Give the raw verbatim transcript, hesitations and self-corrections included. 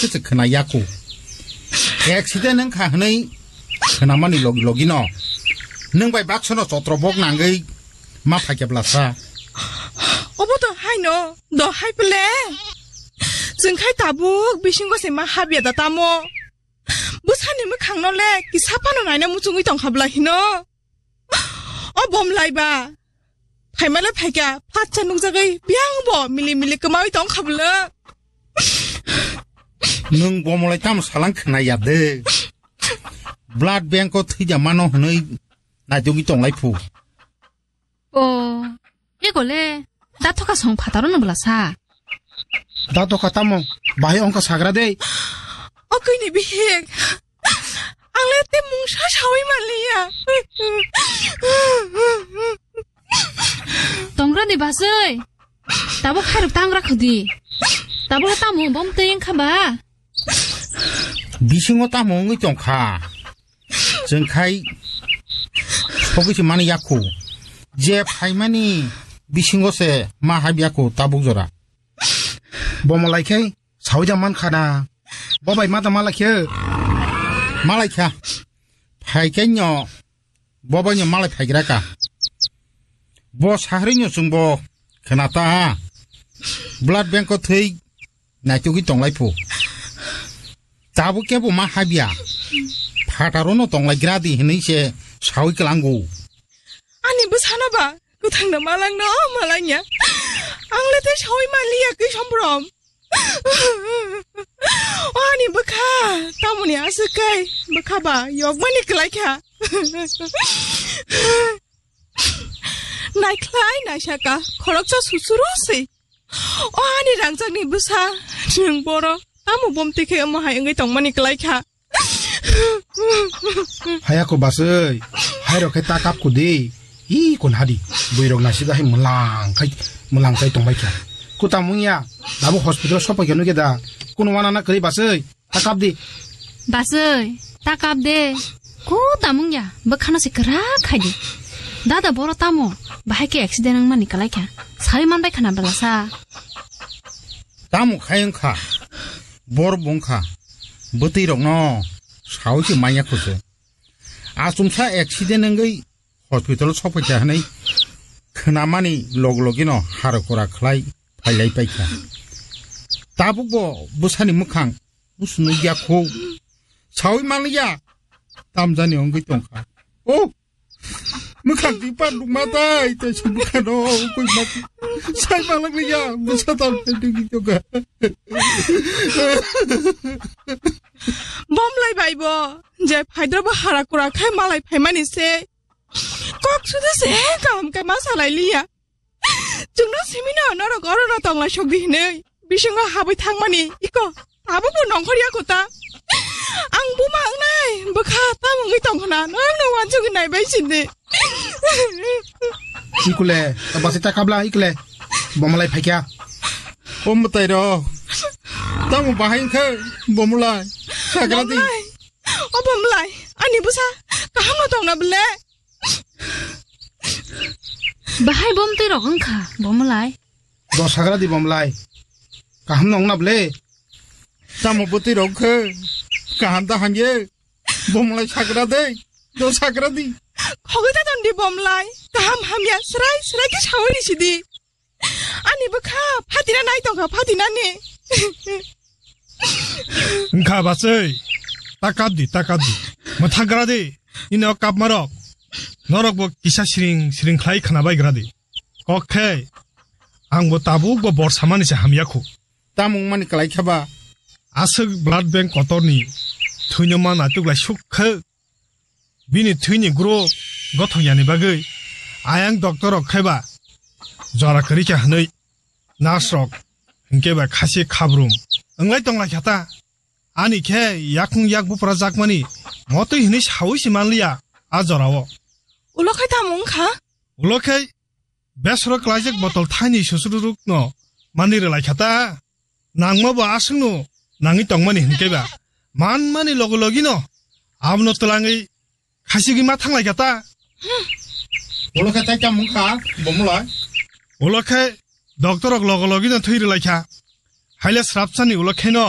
se khna yaku. Accident wngkha hwnwi khnamani logi logi no nwng bai baksa no chotro bok nangwi ma phaikya blasa. Obo to haino, do hai pele. Chwng khai tabuk bisingo se ma habya da tamo. Bwsani mwkhang no le kisa phano naina muchungwi tong kha bwla hino. O bom lai ba. Phaimale phaikha, phatsa nukjagwi biyang bo mili mili kwmawi tong kha bwla. Nwng bom lai tamo salang khna ya de. Blood bank o thwija mano hwnwi naitugwi tong lai phu. O, ego le, da thoka song phataro no bwla sa. Da thoka tamo, bahai ongkha sagra de. O kini bihik. Ang le te mungsa sawi manliya. Tongra ni basai. Tabo khairok tangra khudi. Tabo tamo bom tei wngkha ba. Bisingo tamo wngwi tongkha. Chwng khai sogwi se mani yakhu. Je phaimani bisingo se ma hab yakhu tabuk jora. Bomo lai khai sawi da man khana. Bo bai ma da malai khe. Malai kha. Phai khe nyo. Bo bai nyo malai phai gra ka. Bo sahri nyo chwng bo khna ta. Blood bank o thwi naitugwi tong lai phu. Tabuk kebo ma habya. Phataro no tong lai gra di hwnwi se sawi klango. Ani bwsano ba kwthang no malang no malang ya. Ang le te sawi manliya kwi sombrom. O ani bwkha, tamoni aswk kai bwkha ba yokmani kwlai kha. Naikhlai naisaka khoroksa susuru se. O ani rangchakni bwsa, nwng boro tamo bom tikhe omo hai wngwi tongmani kwlai kha. Hayako basai, hairok khe ta kap kudi. I kun hadi, buirok nasida hai mlang khai, mlang khai tongbai kha. Kuta mungya, dabu hospital sopai khe nugya da. Kun wana na kwrwi basai, ta kap di. Basai, ta kap de. Kuta mungya, bwkhano se kwrak khai di. Dada boro tamo, bahai khe accident wngmani kwlai kha. Sawi manbai khana bwlasa. Tamo khai wngkha, bor bongkha, bwtwi rokno sawi se manya khusu. Achumsa accident wngwi hospital sokphaikha hwnwi khwnamani log logino haro kora khlai phailai paikha. Tabukbo bwsani mwkhang busu nukya kho. Sawi manliya, tamjani wngwi tongkha. O, mwkhang twi par nukma tai, tei se mwkhano koi ma. Sai malak liya, bwsa tam tei tongkha. Bom lai bai bo, je phaidra bo hara kura khai malai phaimani se. Kok sudu se kaham khe ma salai liya. Chwngno simino norok oro no tong lai sok di hinwi. Bisingo habwi thangmani iko. Abo bo nongkhor ya kota. Ang buma wngnai bwkha tam wngwi tong khna. Norok no wansugwi nai bai sindi. Ikule, ta basi ta kabla ikule. Bomalai phaikya. O mwtai rok. Tamo bahai wngkha bomulai. Sagra di. Bomulai. O bomulai. Ani bwsa kaham no tong na bwle. Bahai bomtwi rok wngkha bomulai. Do sagra di bomulai. Kaham no wngna bwle. Tamo bwtwi rok wngkha. Kaham da hamye. Bomulai sagra de. Do sagra di. Khogwi ta ton di bomulai. Kaham hamya srai srai khe sawi risi di. Ani bwkha phatina nai tongkha phatina ni. Wngkha bachai, ta kap di, ta kap di. Mwthang gra di, nini o kapmarok. Norok bo kisa siring siring khlai khna bai gra di. Kok khe, ang bo tabuk bo bor samani se hamya khu. Tamo wngmani kwlai kha ba? Aswk blood bank kotor ni thwino ma naituk lai suk khe. Bini thwini group gothok yani bagwi ayang doctor rok khaiba jora kwrwi kha hwnwi nurse rok hinkhe ba khasi khabrum wnglai tong lai kha ta. Ani khe yakung yak bupra jakmani motwi hwnwi saui se manliya a jorao. Ulo khai tamo wngkha? Ulo khai besoro klaijak botol thaini susururukno manwi rwlai kha ta. Nangma bo aswkno nangwi tongmani hinkhe ba manmani logi logino abono twlangwi khasigwi ma thanglai kha ta. Ulo khe tai tamo wngkha bomulai? Ulo khe doctor rok logi logino thwi rwlai kha. Haile srapsani ulo kheno